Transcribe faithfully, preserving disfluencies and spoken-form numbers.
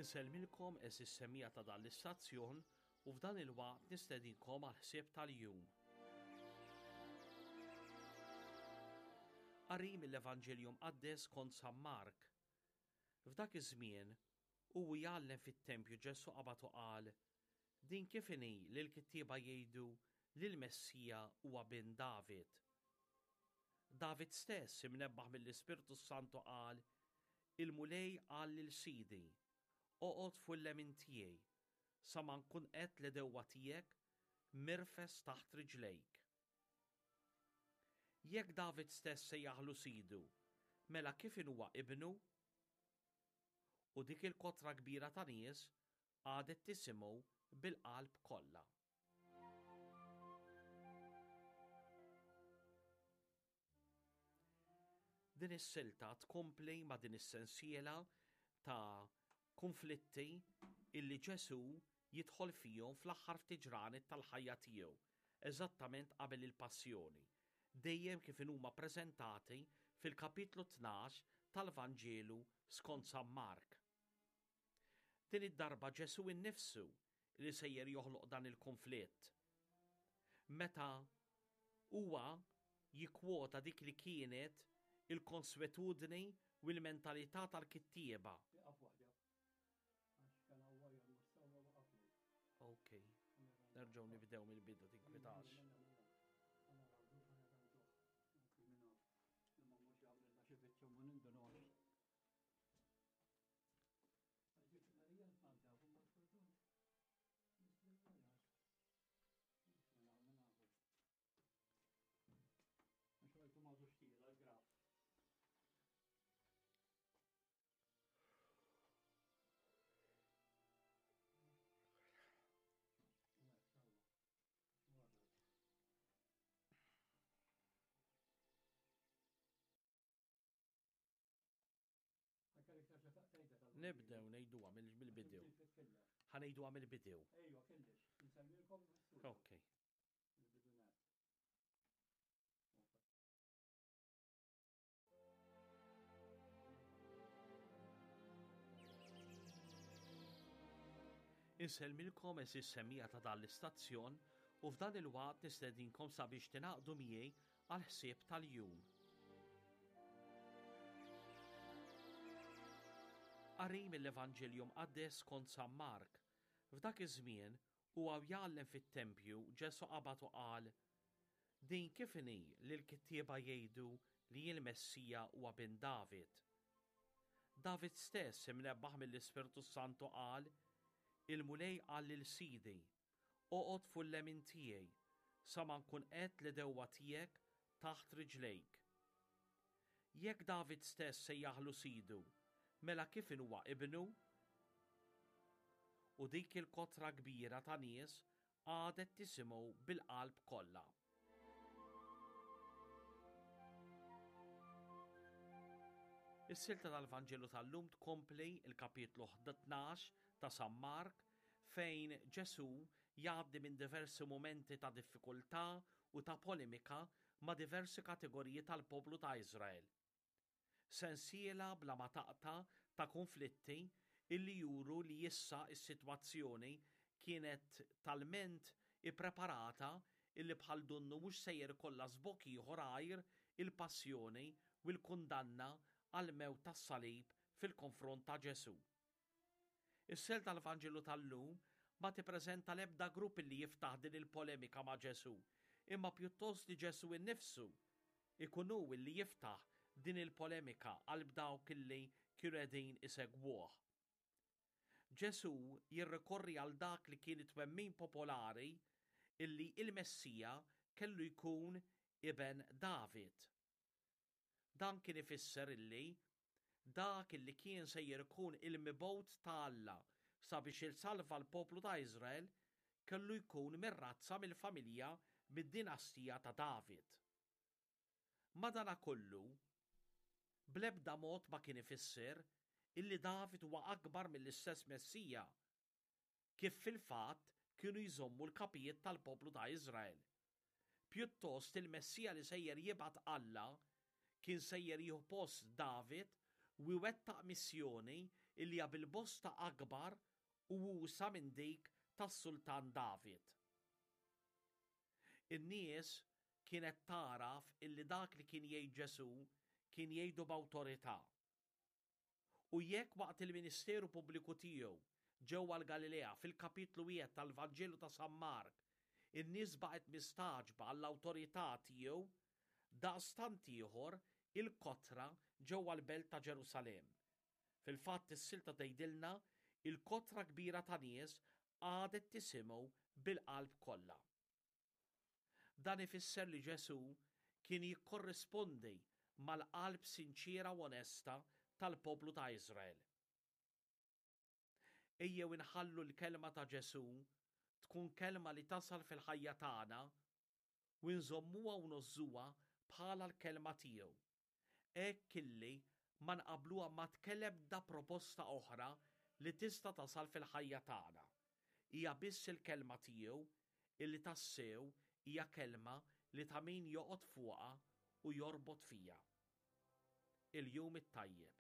Insellmilkom għeżież semmiegħa ta' dan l-istazzjon u f'dan il-waqt nistedinkom għal ħsieb tal-jum. Qari mill-Evanġelju Mqaddes kont San Mark. F'dak iż-żmien hu jgħallem fit-tempju Ġesù qabad u qal: Din kif inhi li l-kittieba jgħidu li l-Messija huwa bin David? David stess imnebbaħ mill-Ispirtu Santu qal: Il-Mulej qal lil Sidi, oqgħod fuq il-lemin tiegħi sa ma nkun qed l-edewwa tiegħek mirfes taħt riġlejk. Jekk David stess sejjaħlu sidu, mela kif huwa ibnu? U dik il-kotra kbira ta' nies għadet tisimgħu bil-qalb kollha. Din is-silta tkompli ma' din is-sensiela ta' konflitti illi Ġesù jidħol fihom fl-aħħar ftit ġranet tal-ħajja tiegħu, eżattament qabel il-passjoni, dejjem kif huma preżentati fil-kapitlu tnax tal-Vanġelu skont San Mark. Din id-darba Ġesù innifsu li sejjer joħloq dan il-konflitt. Meta huwa jikkwota dik li kienet il-konswetudni u l-mentalità tal-kittieba. Ok, nerġgħu nibdew mill-bidu tinkwitax. Nibdew ngħiduha mill-bidu. Ħa ngħiduha mill-bidu. Ejwa, kellix. Insemmilkom. Ok. Insellmilkom għeżież semmiegħa ta' dan l-istazzjon u f'dan il-waqt nistedinkom sabiex tingħaqdu miegħi għal ħsieb tal-jum. Qari mill-Evanġelju Mqaddes kont San Mark. F'dak iż-żmien huwa jgħallem fit-tempju Ġesù qabad u qal: Din kif inhi li l-kittieba jgħidu li l-Messija huwa bin David? David stess imnebbaħ mill-Ispirtu Santu qal: Il-Mulej qal lil Sidi, oqgħod fuq il-lemin tiegħi sa ma nkun qed l-edewwa tiegħek taħt riġlejk. Jekk David stess sejjaħlu sidu, mela kif huwa ibnu? U dik il-kotra kbira ta' nies għadet tisimgħu bil-qalb kollha. Is-silta tal-Vanġelu tal-lum tkompli il-kapitlu tnax ta' San Mark fejn Ġesù jgħaddi minn diversi momenti ta' diffikultà u ta' polemika ma' diversi kategoriji tal-poplu ta' Iżrael. Sensiela bla ma taqta' ta' konflitti illi juru li issa is-sitwazzjoni kienet talment ippreparata illi bħal donnu mhux sejjer kollha żbokk ieħor għajr il-passjoni u l-kundanna għal-mewt tas-salib fil-konfront ta' Ġesù. Is-sel tal-Vanġelu tal-lum ma tippreżenta l-ebda grupp li jiftaħ din il-polemika ma' Ġesù, imma pjuttost li Ġesù innifsu ikun hu li jiftaħ din il-polemika għal dawk illi kienu qegħdin isegwuh. Ġesù jirrikorri għal dak li kien it-twemmin popolari illi il-Messija kellu jkun iben David. Dan kien ifisser illi dak illi kien sejjer ikun il-mibgħut ta' Alla sabiex il-salva l-poplu ta' Iżrael kellu jkun mir-razza mill-familja mid-dinastija ta' David. Madanakollu, bl-ebda mod ma kien ifisser illi David huwa akbar mill-istess Messija, kif fil-fatt kienu jżommu l-kapijiet tal-poplu ta' Iżrael. Pjuttost il-Messija li sejjer jibgħat Alla kien sejjer jieħu post David u jwettaq missjoni illi hija bil-bosta akbar u usa' minn dik tas-Sultan David. In-nies kienet tagħraf illi dak li kien jgħid Ġesù kien jgħidu b'awtorità. U jekk waqt il-ministeru pubbliku tiegħu ġewwa l-Galilea fil-kapitlu wieħed tal-Vanġelu ta' San Mark, in-nies baqgħet mistagħġba għall-awtorità tiegħu, daqstant ieħor il-kotra ġewwa l-belt ta' Ġerusalemm. Fil-fatt is-silta tgħidilna il-kotra kbira ta' nies qagħdet tisimgħu bil-qalb kollha. Dan ifisser li Ġesù kien jikkorrispondi mal-qalb sinċiera u onesta tal-poplu ta' Iżrael. Ejjew inħallu l-kelma ta' Ġesù tkun kelma li tasal fil-ħajja tagħna u nżommuha u ngħożżuha bħala l-kelma tiegħu. Hekk illi ma nqabluha ma tkellem da proposta oħra li tista' tasal fil-ħajja tagħna. Hija biss il-kelma tiegħu illi tassew hija kelma li ta' min joqgħod fuqha u jorbot fija. Il-jum it-tajjeb.